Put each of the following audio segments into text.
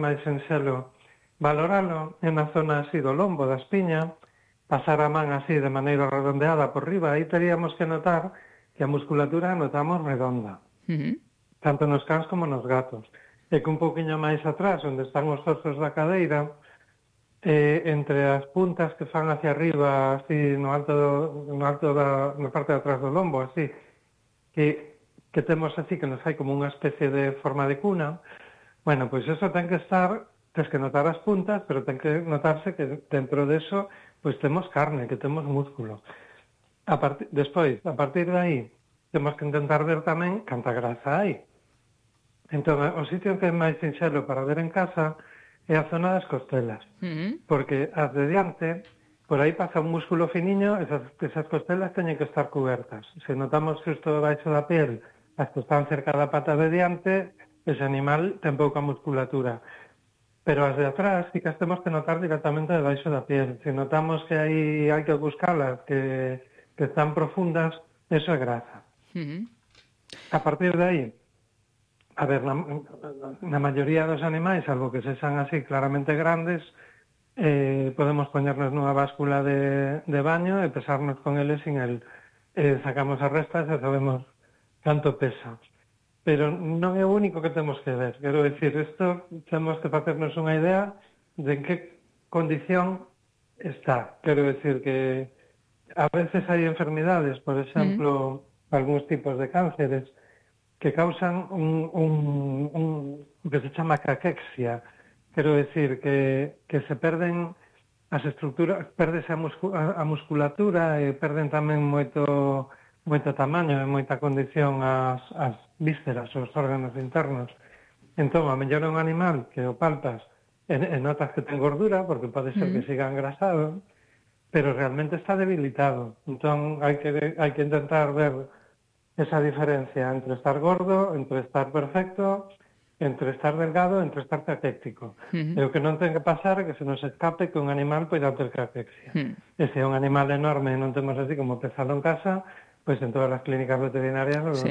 máis sinxelo valoralo en na zona así do lombo, da espiña, pasar a man así de maneira redondeada por riba, aí teríamos que notar que a musculatura a notamos redonda, tanto nos cans como nos gatos. E que un pouquiño máis atrás, onde están os osos da cadeira, entre as puntas que fan hacia arriba, así na parte de atrás do lombo, así, que temos así, que nos hai como unha especie de forma de cuna, bueno, pois eso ten que estar, tens que notar as puntas, pero ten que notarse que dentro de eso, pois temos carne, que temos músculo. Despois, a partir de aí, temos que intentar ver tamén canta grasa hai. Entón, o sitio que é máis sinxelo para ver en casa é a zona das costelas, porque as de diante, por aí pasa un músculo finiño, esas costelas teñen que estar cubertas. Se notamos xusto debaixo da piel, as que están cerca da pata de diante, ese animal ten pouca musculatura. Pero as de atrás sí que as temos que notar directamente debaixo da piel. Se notamos que hai que buscalas, que están profundas, eso é grasa. A partir de aí, a ver, na maioría dos animais, salvo que sexan así claramente grandes, podemos poñernos nunha báscula de baño e pesarnos con eles sin el. Sacamos as restas e sabemos canto pesa. Pero non é o único que temos que ver. Quero dicir, isto temos que facernos unha idea de en que condición está. Quero dicir que a veces hai enfermidades, por exemplo, algúns tipos de cánceres, que causan que se chama caquexia. Quero dicir que se perden as estructuras, perdese a musculatura e perden tamén moito tamaño e moita condición as vísceras, os órganos internos. Entón, a mellor é un animal que o palpas e notas que ten gordura, porque pode ser que siga engrasado, pero realmente está debilitado. Entón, hai que intentar ver esa diferencia entre estar gordo, entre estar perfecto, entre estar delgado, entre estar caquéctico. E o que non ten que pasar é que se nos escape que un animal poida ter caquexia. E se é un animal enorme e non temos así como pesalo en casa, pois en todas as clínicas veterinarias nos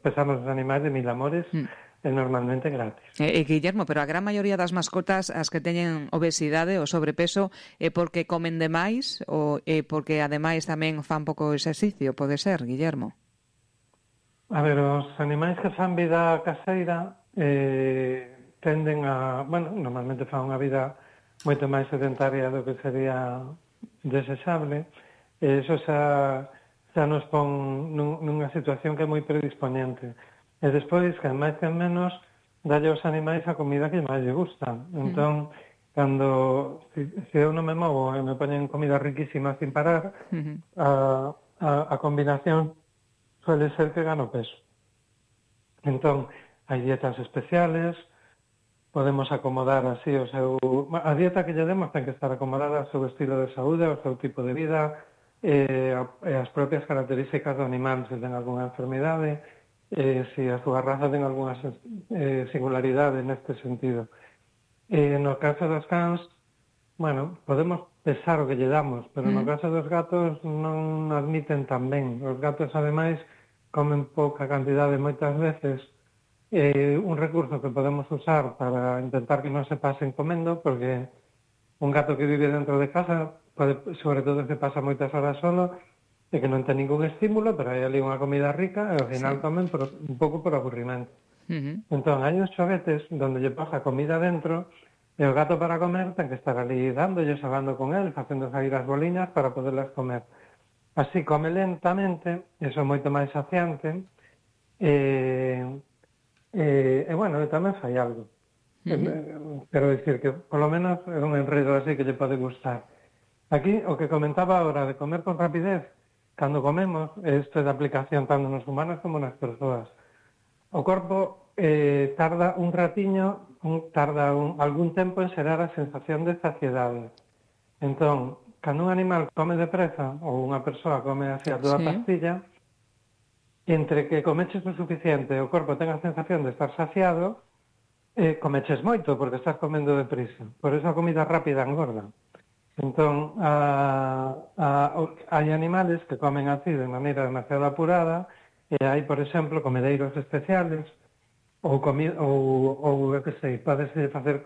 pesamos os animais de 1000 amores e normalmente gratis. Guillermo, pero a gran maioría das mascotas as que teñen obesidade ou sobrepeso é porque comen demais ou é porque ademais tamén fan pouco exercicio, pode ser, Guillermo? A ver, os animais que fan vida caseira tenden a, bueno, normalmente fan unha vida moito máis sedentaria do que sería desexable, e iso xa nos pon nunha situación que é moi predisponente. E despois, que máis que menos, dalle aos animais a comida que máis lle gusta. Entón, cando, se eu non me movo e me poñen comida riquísima sin parar, a combinación suele ser que gano peso. Entón, hai dietas especiales, podemos acomodar así o seu... A dieta que lle demos ten que estar acomodada ao seu estilo de saúde, ao seu tipo de vida, e as propias características do animal, se ten algunha enfermidade, se a súa raza ten algunha singularidade neste sentido. No caso dos cans, bueno, podemos pesar o que lle damos, pero no caso dos gatos non admiten tan ben. Os gatos, ademais, comen pouca cantidade moitas veces. Un recurso que podemos usar para intentar que non se pasen comendo, porque un gato que vive dentro de casa, sobre todo se pasa moitas horas solo, e que non ten ningún estímulo, pero hai ali unha comida rica, e ao final comen un pouco por aburrimento. Entón, hai uns xoguetes onde lle pasa comida dentro, e o gato para comer ten que estar ali dándolle, xogando con él, facendo sair as boliñas para poderlas comer. Así come lentamente, eso é moito máis saciante, e bueno, tamén fai algo. Quero dicir que, polo menos, é un enredo así que lle pode gustar. Aquí, o que comentaba agora de comer con rapidez, cando comemos, isto é de aplicación tanto nos humanos como nas persoas. O corpo tarda un ratiño, algún tempo en xerar a sensación de saciedade. Entón, cando un animal come depresa, ou unha persoa come así a toda pastilla, entre que comeches o suficiente e o corpo ten a sensación de estar saciado, comeches moito, porque estás comendo deprisa. Por eso a comida rápida engorda. Entón, hai animales que comen así de maneira demasiado apurada, e hai, por exemplo, comedeiros especiales ou eu que sei, podese facer